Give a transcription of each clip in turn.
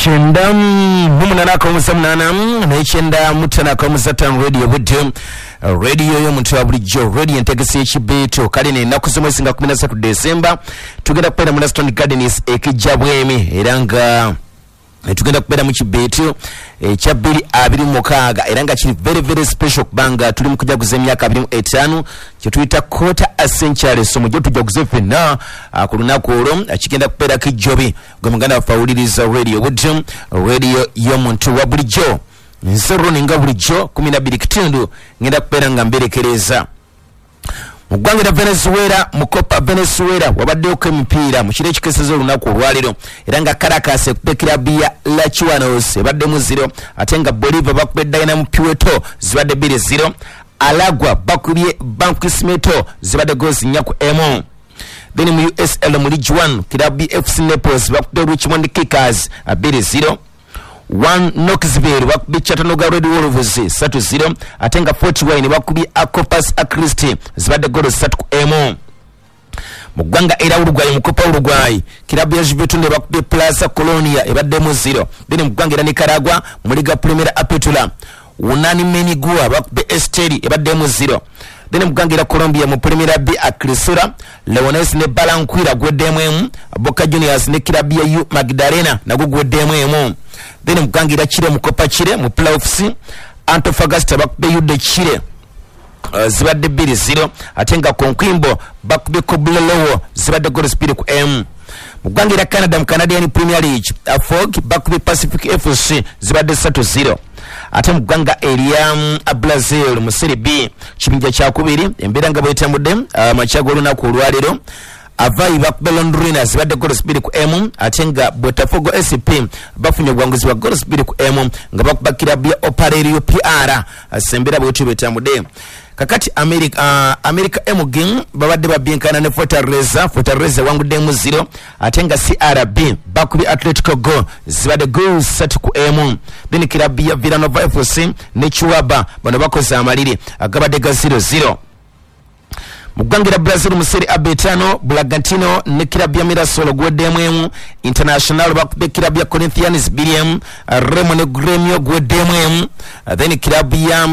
98.8 95.5 Radio Budde, radio y'omuntu wa bulijjo, radio entegesi y'ekibeeto. Kale n'ennaku z'omwezi nga 13 Desemba tugenda kubeera mu Laston Gardens ekijja Bwemi, era nga tugenda kubeera mu kibeeto ekya 2026, era nga kiri very very special kubanga tuli mu kujaguza emyaka 25 kyetuyita quarter a century. So mujje tujaguze ffenna ku lunaku olwo. Kigenda kubeerako ejjobi gwe muganda waffe awuliriza Radio Budde, radio y'omuntu wa bulijjo. Nze Ronnie nga bulijjo 12 kitundu ngenda kubeera nga mberekereza. Mu ggwanga lya Venezuela, mu Copa Venezuela wabaddeyoko emipiira mu kiro ekikeseza olunaku olwaleero, era nga Caracas ekubye kirabu ya Lachuanos ebaddemu 0, ate nga Bolivar bakubye Dynamo Puerto zibadde 2-0. Alagwa bakubye Barquisimeto zibadde goals 4-1. Then mu USL mu League 1 kirabu ya FC Naples bakubye Richmond Kickers 2-0. 1 Knoxville bakubye Chattanooga Red Wolves 3-0, ate nga Fort Wayne bakubye Corpus Christi zibadde goals 3-1. Mu ggwanga era Uruguay, mu Copa Uruguay kirabu ya Juventude bakubye Plaza Colonia ebaddemu 0. Then mu ggwanga era Nicaragua mu Liga Primera Apertura Unani Menigua bakubye Esteli ebaddemu 0. Then mu ggwanga era Colombia mu Primera B Acrisura Leones ne Barranquilla gweddemu 1, Boca Juniors ne kirabu ya U Magdalena nagwo gweddemu 1. Then mu ggwanga era Chile mu Copa Chile mu playoffs Antofagasta bakubye UD Chile zibadde 2-0, ate nga Coquimbo bakubye Cobreloa zibadde goals 2-1. Mu ggwanga era Canada mu Canadian Premier League Fog bakubye Pacific FC zibadde 3-0. Ate mu ggwanga erya Brazil mu Serie B kibinja kyakubiri embeera nga bwetambudde amakya g'olunaku olwaleero, Avaí bakubye Londrina zibadde goals 2-1, ate nga Botafogo SP bafunye obuwanguzi bwa goals 2-1 nga bakuba kirabu ya Operário PR. Embeera bwetyo bwetambudde. Kakati America MG babadde babyenkana ne Fortaleza, Fortaleza ewanguddemu 0, ate nga CRB bakubye Atletico Go zibadde goals 3-1. Then kirabu ya Villanova FC ne Cuiabá bano bakoze amaliri agabadde ga 0-0. Mu ggwanga lya Brazil mu Serie A B5 Bragantino ne kirabu ya Mirassol gweddemu 1, International bakubye kirabu ya Corinthians 2-1, Remo ne Grêmio gweddemu 1. Then kirabu ya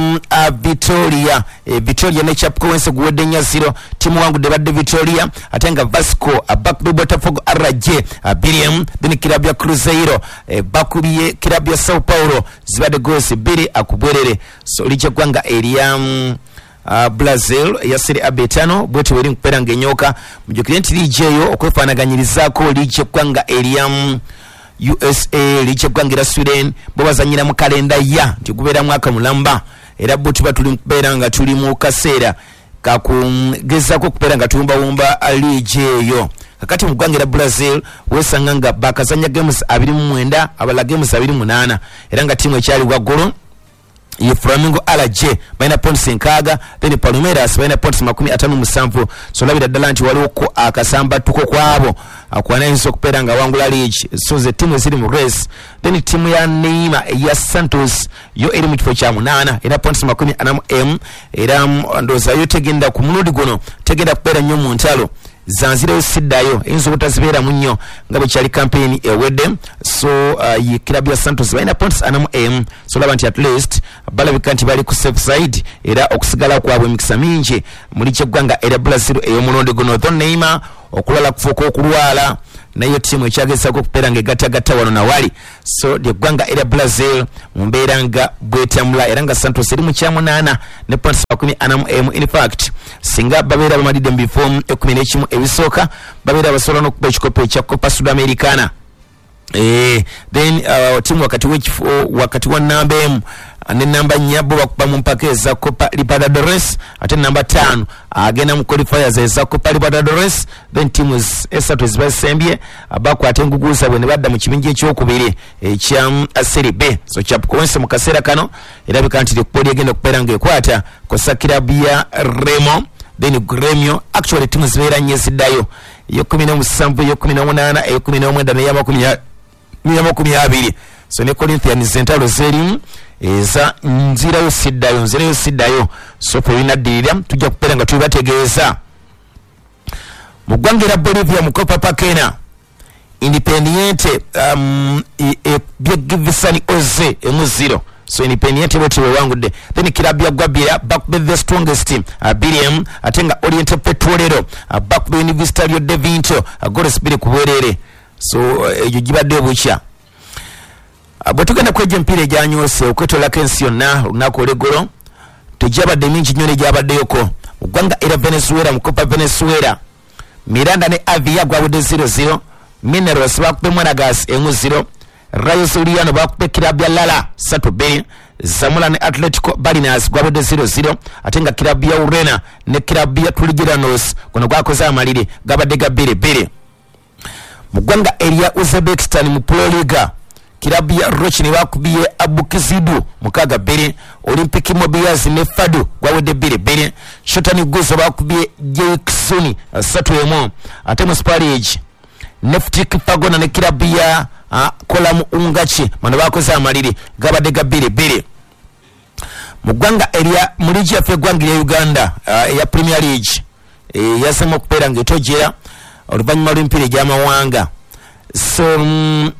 Vitória, Vitória ne Chapecoense gwedde 4-0, timu wangudde badde Vitória, ate nga Vasco bakubye Botafogo RJ 2-1. Then kirabu ya Cruzeiro bakubye kirabu ya Sao Paulo zibadde goals 2-2. So lijja ggwanga erya Brazil ya Serie A B5 bwetyo bweri nkubeera ng'enyoka. Mujjukire nti liigi eyo okwefaanaganyirizaako liigi eggwanga erya USA, liigi eggwanga erya Sweden, bo bazannyira mu kalenda ya nti gubeera mwaka mulamba, era bo tuba tuli nkubeera nga tuli mu kaseera kakugezaako okubeera nga tuwumbawumba liigi eyo. Kakati mu ggwanga erya Brazil weesanga nga bakazannya games 29, abalala games 28, era nga ttiimu ekyali waggulu ye Flamengo RJ balina points 6, then Palmeiras balina points 57. So labira ddala nti waliwoko akasambatuko kwabo akwanayinza okubeera nga wangula league. So ze ttiimu eziri mu race. Then ttiimu ya Neymar eya Santos yo eri mu kifo kya 8 era points 41, era ndowooza yo tegenda ku mulundi guno tegenda kubeera nnyo mu ntalo zanzireyo siddayo, eyinza obutazibeeramu nnyo nga bwe kyali campaign ewedde. So ye kirabu ya Santos balina points 41, so laba nti at least balabika nti bali ku safe side, era okusigala kwabwe emikisa mingi muli kyeggwanga era Brazil ey'omulundi guno. Though Neymar okulala kufuuka okulwala, naye ttiimu ekyagezaako okubeera nga egattagatta wano nawali. So lyeggwanga era Brazil mu mbeera nga bwetambula, era nga Santos eri mu kyamunaana ne points 41. In fact singa babeera bamalidde mu bifo 11 ebisooka babeera basobola n'okuba ekikopo ekya Copa Sudamericana. Then tiimu wakati w'ekifo wakati wa namba 1 ne namba 4 bo bakuba mu mpaka eza Copa Libertadores, ate namba 5 agenda mu qualifiers eza Copa Libertadores. Then tiimu esatu ezibasembye bakwata engugu zaabwe ne badda mu kibinja ekyokubiri ekya Serie B. So Chapecoense mu kaseera kano erabika nti ekkubo lyegenda okubeera ng'ekwata kosa kirabu ya Remo, then Grêmio. Actually tiimu zibeera nnyo eziddayo, ey'o17, ey'o18, ey'o19 n'eya20. So ne Corinthians entalo zerimu eza nzirayo siddayo, nzirayo siddayo. So ffe binaddirira tujja kubeera nga tubibategeeza. Mu ggwanga erya Bolivia mu Copa Pakena Independiente Bakubye Givisani Oze 1-0. So Independiente bwetyo bwewangudde. Then kilabu ya Gwabira bakubye the strongest team 2-1, ate nga Oriente Petrolero bakubye Universitario de Vinto goals 2 ku bwerere. So egyo gibadde obukya. Bwe tugenda kwejja emipiira egyanyoose okwetolako ensi yonna olunaku olw'eggulo, tegyabadde mingi nnyo n'egyabaddeyoko. Mu ggwanga era Venezuela, mu Copa Venezuela, Miranda ne Avia gwawedde 0-0, Mineros bakubye Monagas 1-0, Rayo Zuliano bakubye kirabu ya Lala 3-2, Zamora ne Atletico Barinas gwawedde 0-0, ate nga kirabu ya Urena ne kirabu ya Trigeranos guno gwakoze amaliri gabadde ga 2-2. Mu ggwanga erya Uzbekistan mu Pro Liga, kirabu ya Rochini bakubye Abukizidu 6-2, Olympic Mobias ne Fadu gwawedde 2-2, Shotani Guzo bakubye Jeksuni 3-1, ate mu Super League Neftik Fagona ne kirabu ya Kolamu Ungachi bano bakoze amaliri gabadde ga 2-2. Mu ggwanga erya mu liigi yaffe eggwanga erya Uganda eya Premier League yazemu okubeera ng'etojera oluvannyuma lw'emipiira egy'amawanga. So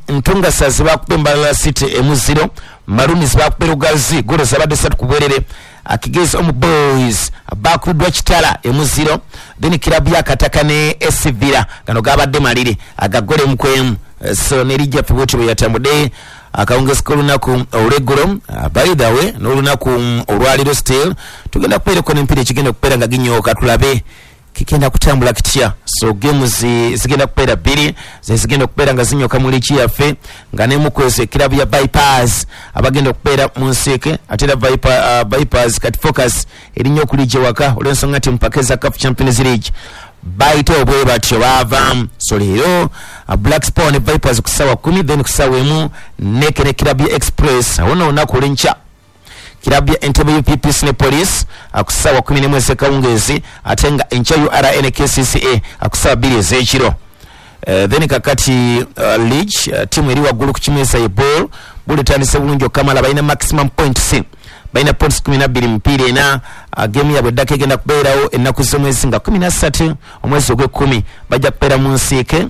Ntungasazi bakubye Mbarara City 1-0, Maroons bakubye Lugazi golo zabadde 3 ku bwerere, Akigezi Omu Boys bakubiddwa Kitala 1-0, then kirabu ya Kataka ne SC Villa gano gabadde maliri agagole 1-1. So ne liigi yaffe bwetyo bwe yatambudde akawungezi k'olunaku olw'eggulo. By the way, n'olunaku olwaleero still tugenda kubeerako n'emipiira ekigenda okubeera nga ginyooka, tulabe kigenda kutambula kitya. So games zigenda kubeera bbiri ze zigenda okubeera nga zinyoka mu liigi yaffe, nga n'emukwezi ekirabu ya Vipers abagenda okubeera mu nsiike, ate era Vipers kati focus erinnya okuliigi ewaka olw'ensonga nti mpaka eza CAF Champions League bayite obwe batyo baavaamu. So leero Black Power ne Vipers ku ssaawa 10, then ku ssaawa 1 Neke ne kirabu ya Express. Awo nno olunaku olw'enkya kirabu ya Entebbe UPPC ne Police ku ssaawa 11 ez'ekawungeezi, ate nga enkya URA ne KCCA ku ssaawa 2 ez'ekiro. Then kakati league tiimu eri waggulu ku kimeeza ye ball buli etandise bulungi okamala, balina maximum points, balina points 12 mupiira ena. Game yaabwe eddako egenda kubeerawo ennaku z'omwezi nga 13 omwezi ogw'ekkumi, bajja kubeera mu nsiike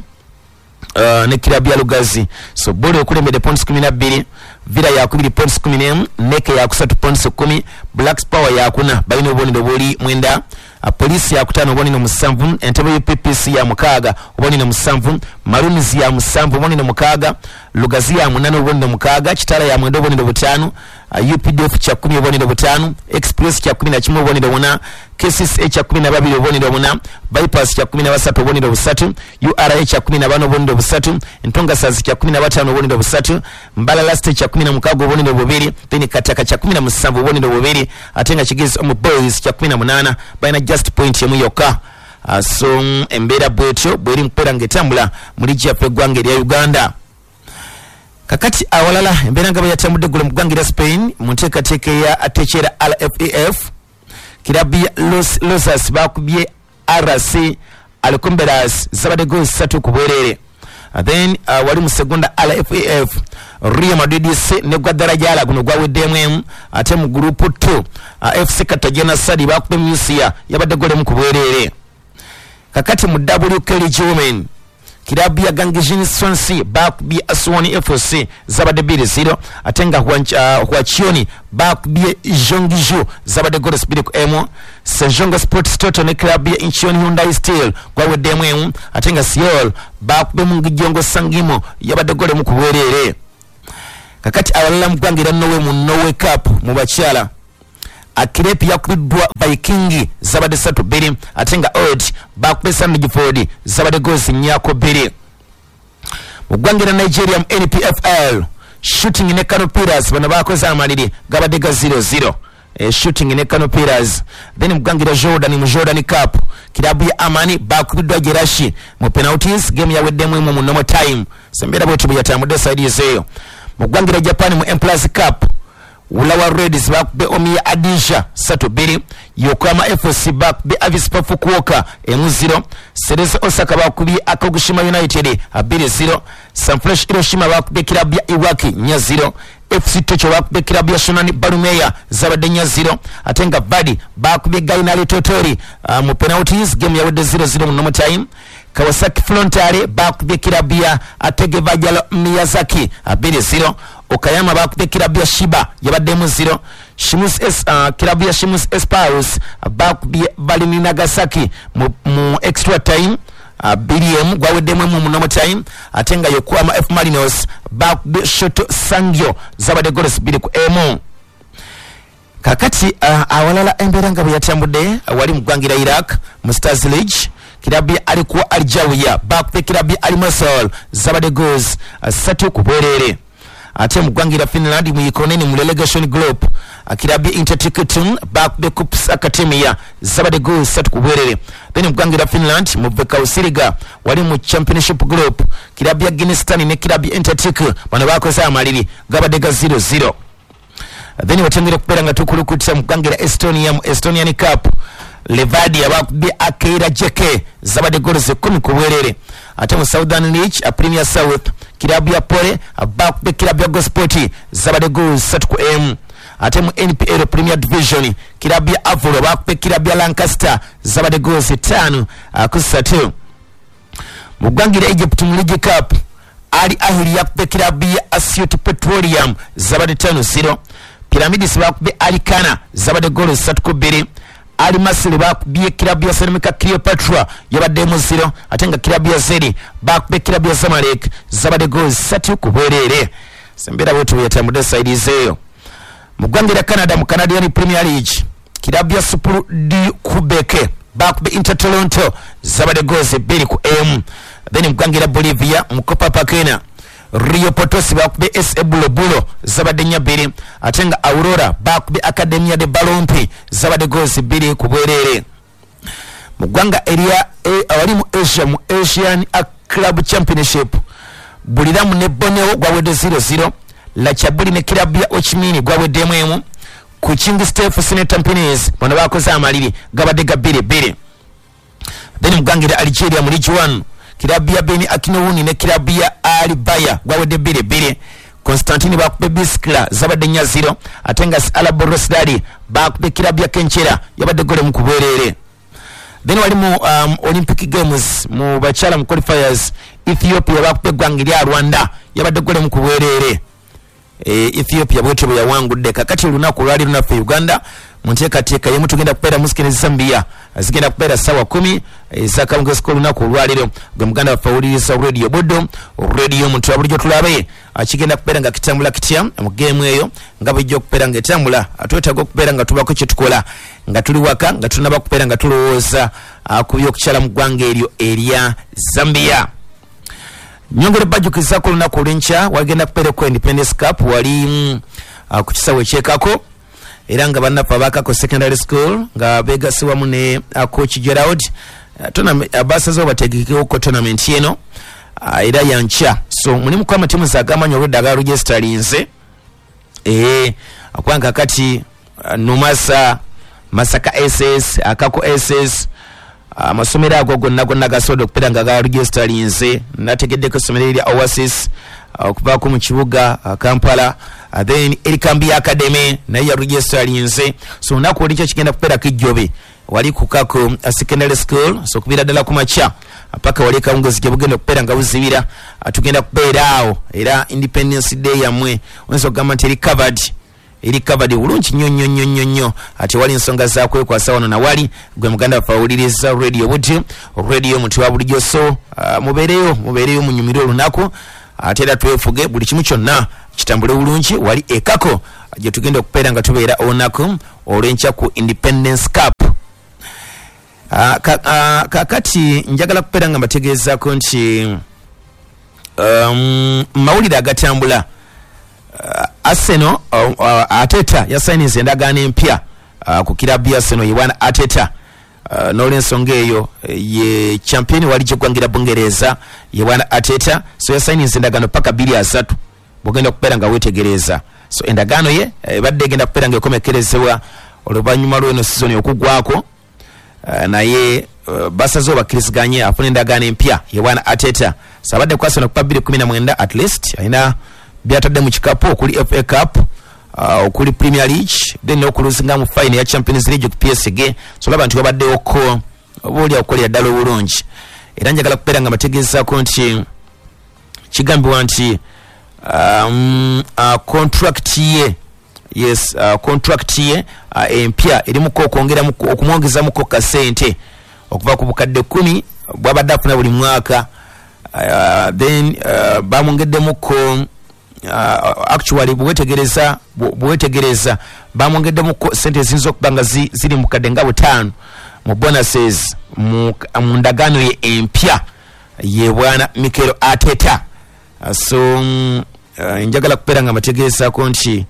ne kirabu ya Lugazi. So ball ekulembedde points 12, Villa yakubiri points 11, Neke yakusatu points 10, Black Power yakuna balina obubonero buli 9, Police yakutaano obubonero 7, Entebbe UPPC ya 6 obubonero 7, Maroons ya 7 obubonero 6, Lugazi ya 8 obubonero 6, Kitara ya 9 obubonero 5, UPDF kya 10 obubonero 5, Express kya 11 obubonero 4, KCCA kya 12 obubonero 4, Bypass kya 13 obubonero 3, URA kya 14 obubonero 3, Ntongasazi kya 15 obubonero 3, Mbalala City kya 16 obubonero 2, then Kataka kya 17 obubonero 2, ate nga Kigezi Omu Boys kya 18 balina just point emu yokka. So embeera bwetyo bweri mukubeera ng'etambula mu liigi yaffe eggwanga erya Uganda. Kakati awalala embeera nga bwe yatambudde eggulo mu ggwanga erya Spain mu nteekateeka eya Atechera RFEF, kirabu ya Los Losas bakubye RC Alcomberas zabadde goals 3 ku bwerere. Then wali mu segunda RFEF Real Madrid C ne Guadalajara guno gwaweddemu emu, ate mu group 2 FC Cartagena Sadi bakubye Murcia yabadde gole mu ku bwerere. Kakati mu WK League Women kirabu ya Gangijin Swansea bakubye Aswani FC zabadde 2-0, ate nga Huachioni bakubye Jongiju zabadde goals 2-1. Sejong Sports Toto ne kirabu ya Incheon Hyundai Steel gwaweddemu emu, ate nga Seoul bakubye Mungijongo Sangimo yabadde gole mu ku bwerere. Kakati awalala mu ggwanga erya Norway mu Norway Cup mu bakyala, Akirepi yakubiddwa Viking zabadde 3-2, ate nga Odd bakubye Sandefjord zabadde goals 4-2. Mu ggwanga erya Nigeria mu NPFL, Shooting ne Kano Pillars bano bakoze amaliri gabadde ga 0-0. Shooting ne Kano Pillars. Then mu ggwanga erya Jordan mu Jordan Cup, kirabu ya Amani bakubiddwa Jerashi mu penalties, game yaweddemu emu mu normal time. So embeera bwetyo bwe yatambudde side ezeeyo. Mu ggwanga erya Japan mu M+ Cup, Ulawa Reds bakubye Omiya Adisha 3-2, Yokohama FC bakubye Avispa Fukuoka 1-0, Cerezo Osaka bakubye Akagushima United 2-0, Sanfrecce Hiroshima bakubye kirabu ya Iwaki 4-0, FC Tokyo bakubye kirabu ya Shonan Barumeya zabadde 4-0, ate nga Vadi bakubye Gainari Totori mu penalties, game yawedde 0-0 mu normal time. Kawasaki Frontale bakubye kirabu ya Ategevajalo Miyazaki 2-0. Okayama bakubye kirabu ya Shiba yabaddemu 0. Shimus S, kirabu ya Shimus Espaus bakubye Balimi Nagasaki mu extra time 2-1, gwaweddemu mu normal time. Ate nga Yokohama F Marinos bakubye Shoto Sangyo zabadde goals 2-1. Kakati awalala embeera nga bwe yatambudde wali mu ggwanga lya Iraq mu Stars League, kirabu ya Alikuwa Aljawiya bakubye kirabu ya Al Mosul zabadde goals 3-2. Ate mu ggwanga lya Finland mu Ikoneni mu relegation group, kirabu ya Intertikitum bakubye Kups Academia zabadde goals 3-2. Then mu ggwanga lya Finland mu Vekausiriga wali mu championship group, kirabu ya Ginistan ne kirabu ya Intertik bano bakoze amaliri gabadde ga 0-0. Then watengere kubeera nga tukulukutsa mu ggwanga lya Estonia mu Estonian Cup, Levadia bakubye Akeira Jeke zabadde goals 10-2. Ate mu Southern League a Premier South, kirabu ya Pole bakubye kirabu ya Gosport zabadde goals 3-1. Ate mu NPL Premier Division, kirabu ya Avro bakubye kirabu ya Lancaster zabadde goals 5-3. Mu ggwanga lya Egypt mu League Cup, Al Ahly yakubye kirabu ya Asyut Petroleum zabadde 5-0. Pyramids bakubye Al Kana zabadde goals 3-2. Al Masry bakubye kirabu ya Selemeka Cleopatra yabaddemu 0. Ate nga kirabu ya Zeri bakubye kirabu ya Zamalek zabadde goals 3-2. Sembeera bwetu yatambudde saidi zeeyo. Mu ggwanga lya Canada mu Canadian Premier League, kirabu ya Super D Quebec bakubye Inter Toronto zabadde goals 2-1. Then mu ggwanga lya Bolivia mu Copa Pakena, Rio Potosi bakubye SA Bulobulo zabadde 4-2. Ate nga Aurora bakubye Academia de Balompi zabadde goals 2-2. Mu ggwanga erya awali mu Asia mu Asian Club Championship, Buliramu ne Borneo gwawedde 0-0. Lachabuli ne kirabu ya Ochimini gwaweddemu 1. Ku King Steph Sine Tampines bano bakoze amaliri gabadde ga 2-2. Then mu ggwanga erya Algeria mu League 1, kirabu ya Beni Akinowuni ne kirabu ya Alibaya gwawedde 2-2. Constantine bakubye Biskla zabadde 4-0. Ate nga Alaborosdari bakubye kirabu ya Kenchera yabadde gole mu kubwerere. Then wali mu Olympic Games mu bakyala mu qualifiers, Ethiopia bakubye eggwanga lya Rwanda yabadde gole mu kubwerere. Ethiopia bwetyo bwe yawangudde. Kakati olunaku olwali lunaffe Uganda mu nteekateeka yemu tugenda kubeera mu Sikene Zambia zigenda kubeera ssaawa 10 ez'akawungeezi k'olunaku olwaleero. Gwe muganda waffe awuliriza Radio Buddo, radio omuntu wa bulijjo, tulabe kigenda kubeera nga kitambula kitya mu geemu eyo nga bwejja okubeera nga etambula. Twetaaga okubeera nga tubaako kye tukola nga tuli waka nga tunaba kubeera nga tulowooza ku by'okukyala mu ggwanga eryo erya Zambia. Nyongere bajjukizaako olunaku olw'enkya wagenda kubeerako Independence Cup wali ku kisaawe ekyekako, era nga bannaffe abakako secondary school nga beegase wamu ne coach Gerald basazeewo bategekewoko tournament eno era yankya. So mulimu ku amatiimu zagamanyi olwedda agaregisterinze kubanga kati Numasa, Masaka SS, Akako SS, amasomero ago gonna gonna gasobodde okubeera nga garegisterinze. Nategeddeko essomero erya Oasis okuvaako mu kibuga Kampala, then Erikambi Academy naye yaregisterinze. So olunaku olw'enkya kigenda kubeerako ejjobe wali ku Kako Secondary School, so okuviira ddala ku makya paka wali akawungeezi gye bugenda okubeera nga buzibira. Tugenda kubeera awo era Independence Day yammwe oyinza okugamba nti eri covered, eri covered bulungi nnyo nnyo nnyo nnyo nnyo. Ate wali ensonga za kwekwasa wano na wali. Gwe muganda waffe awuliriza Radio Buddo, radio omuntu wa bulijjo. So mubeereyo munyumire olunaku, ate era twefuge buli kimu kyonna kitambule bulungi wali ekako gye tugenda okubeera nga tubeera olunaku olw'enkya ku Independence Cup. Kakati njagala kubeera nga mbategeezaako nti mawulire agatambula, Arsenal Arteta yasayiniza endagaano empya ku kirabu ya Arsenal ye bwana Arteta. N'olwensonga eyo ye champion wali gyeggwangira Bungereza ye bwana Arteta, so yasayiniza endagaano paka 2030 bwogenda okubeera nga weetegereza. So endagaano ye ebadde egenda kubeera nga ekomekerezebwa oluvannyuma lw'eno sizoni okuggwako, naye basazeewo bakkiriziganye afune endagaano empya ye bwana Arteta. So abadde ku Arsenal kuva 2019, at least alina byatadde mu kikapu okuli FA Cup, okuli Premier League, then n'okuluzinga mu final ya Champions League ku PSG. So olaba nti wabaddewoko oba oli okukolera ddala obulungi. Era njagala kubeera nga bategeezaako nti kigambibwa nti contract ye, yes, contract ye empya erimuko okwongeramuko, okumwongezamuko kasente okuva ku bukadde 10 bwabadde afuna buli mwaka. Then bamwongeddemuko, actually bwewetegereza bamwongeddemuko sente eziyinza okuba nga ziri mu kadde nga 5 mu bonuses mu ndagaano ye empya ye bwana Mikel Arteta. So njagala kubeera nga mbategeezaako nti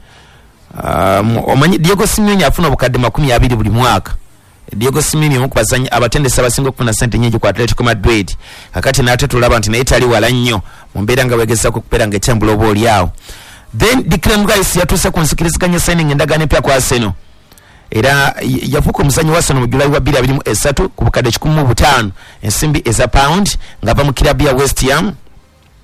omanyi Diego Simeone afuna obukadde 20 buli mwaka. Diego Simeone omu ku bazannyi abatendesi abasinga okufuna sente nnyingi ku Atletico Madrid. Kakati n'ate tulaba nti naye tali wala nnyo mu mbeera nga wegezaako okubeera nga etambula oba oli awo. Then Declan Rice yatuuse ku nzikiriziganya signing endagaano empya ku Arsenal. Era yafuuka omuzannyi wa Arsenal mu July wa 2023 ku bukadde 105 ensimbi eza pound ng'ava mu kirabu ya West Ham.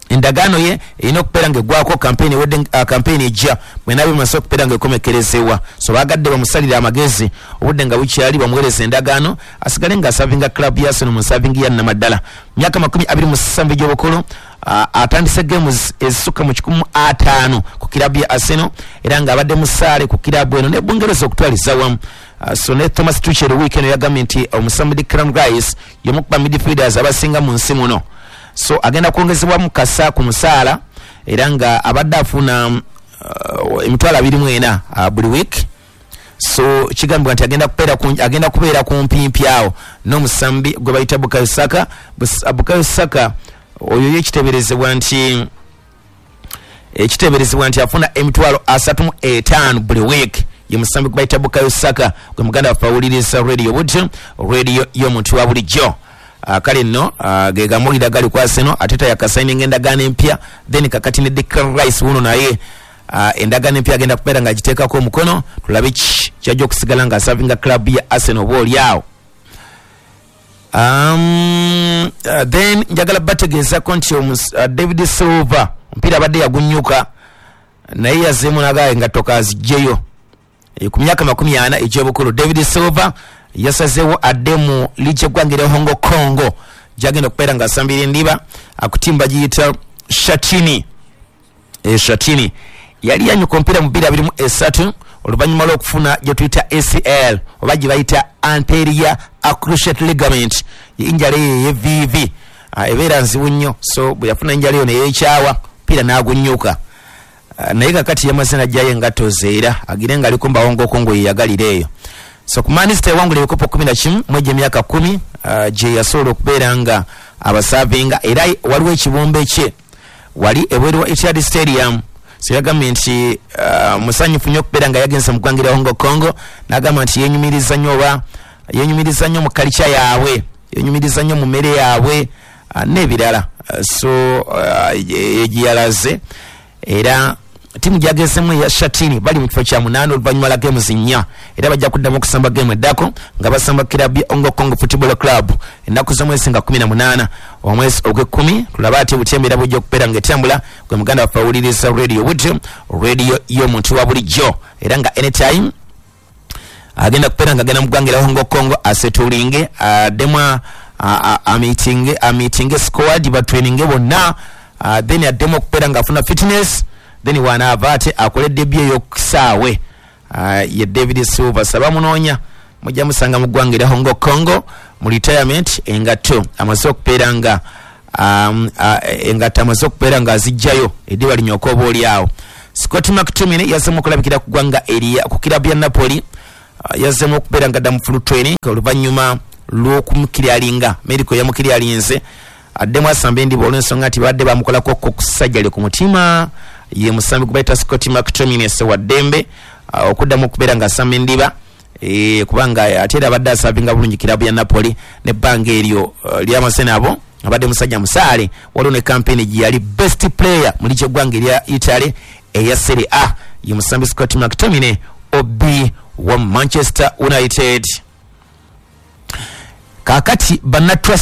Endagaano ye erina okubeera ng'eggwako campaign ewedde, campaign ejja bwenaaba emaze okubeera ng'ekomekerezebwa. So baagadde bamusalire amagezi obudde nga bukyali, bamuweereza endagaano asigale ng'asavinga club ya Arsenal mu nsavingi ya nnamaddala. Myaka 27 egy'obukulu, atandise games ezisukka mu 150 ku kirabu ya Arsenal, era ng'abadde musaale ku kirabu eno ne Bungereza okutwaliza wamu. So ne Thomas Tuchel wiiki eno yagambye nti omusambi Declan Rice y'omu ku ba midfielders abasinga mu nsi muno. So agenda kwongezebwamu kasa ku musaala, era nga abadde afuna emitwalo 24 buli week. So kigambibwa nti agenda kubeera ku mpimpi awo n'omusambi gwe bayita Bukayo Saka. Bukayo Saka oyo ye kiteeberezebwa nti afuna emitwalo 35 buli week. Ye musambi gwe bayita Bukayo Saka, gwe muganda waffe awuliriza radio butyo, radio y'omuntu wa bulijjo. Kale nno ge gamulira gali ku Arsenal. Arteta yakasayininga endagaano empya, then kakati ne Declan Rice wuno naye endagaano empya agenda kubeera ng'agiteekako omukono, tulabe ki kyajja okusigala ng'asavinga club ya Arsenal oba oli awo. Then njagala bategeezako nti David Silva omupiira abadde yagunyuka naye yazzeemu n'agamba engatto k'aziggyeyo. Ku myaka 40 egy'obukulu David Silva yasazeewo adde mu liigi y'eggwanga erya Hong Kong gy'agenda okubeera ng'asambira endiba akutimba giyita Shatini. Shatini yali yanyuka omupiira mu 2023 oluvannyuma lw'okufuna gye tuyita ACL oba gye bayita anterior cruciate ligament, injala eyo ey'evviivi ebeera nzibu nnyo. So bwe yafuna enjala eyo ne yeekyawa omupiira n'agunyuka. Naye kakati yamaze n'aggyayo engatto ze era agire ng'aliko mu Hong Kong yeyagalira eyo. So ku Man City ewangula ebikopo 11 mu egyo emyaka 10 gye yasobola okubeera nga abasavinga, era waliwo ekibumbe kye wali ebweru wa Etihad Stadium. So yagambye nti musanyufu nnyo okubeera nga yagenze mu ggwanga erya Hong Kong, n'agamba nti yenyumiriza nnyo oba yenyumiriza nnyo mu kalica yaabwe, yenyumiriza nnyo mu mmere yaabwe n'ebirala. So gye yalaze, era tiimu gyagezemu eya Shatini bali mu kifo kya 8 oluvannyuma lwa games 4, era bajja kuddamu okusamba game eddako nga basamba kirabu ya Hong Kong Football Club ennaku z'omwezi nga 18 omwezi ogw'ekkumi. Tulabe ate butya embeera bw'ejja okubeera ng'etambula. Gwe muganda waffe awuliriza radio butyo, radio y'omuntu wa bulijjo, era nga anytime agenda kubeera nga agenda mu ggwanga erya Hong Kong asetulinge, addemu amiitinge squad, batraininge bonna, then addemu okubeera ng'afuna fitness, then wanaava ate akole debut ey'okusaawe. Ye David Silva saba munoonya mujja musanga mu ggwanga erya Hong Kong mu retirement, engatto amaze okubeera nga engatto amaze okubeera nga azijjayo eddiba linyooka oba oli awo. Scott McTominay yazzeemu okulabikira ku ggwanga erya ku kirabu ya Napoli, yazzeemu okubeera nga adda mu full training oluvannyuma lw'okumukiryalinga medical yamukiryalinze addemu asamba endiba olw'ensonga nti babadde bamukolako okusajjale ku mutima. Ye musambi gwe bayita Scott McTominay wa ddembe okuddamu okubeera ng'asamba endiba, kubanga ate era abadde asavinga bulungi kirabu ya Napoli n'ebbanga eryo lyamaze nabo abadde musajja musaale. Waliwo ne campaign gye yali best player mu liigi y'eggwanga erya Italy eya Serie A. Ye musambi Scott McTominay OB wa Manchester United. Kaakati banna Trust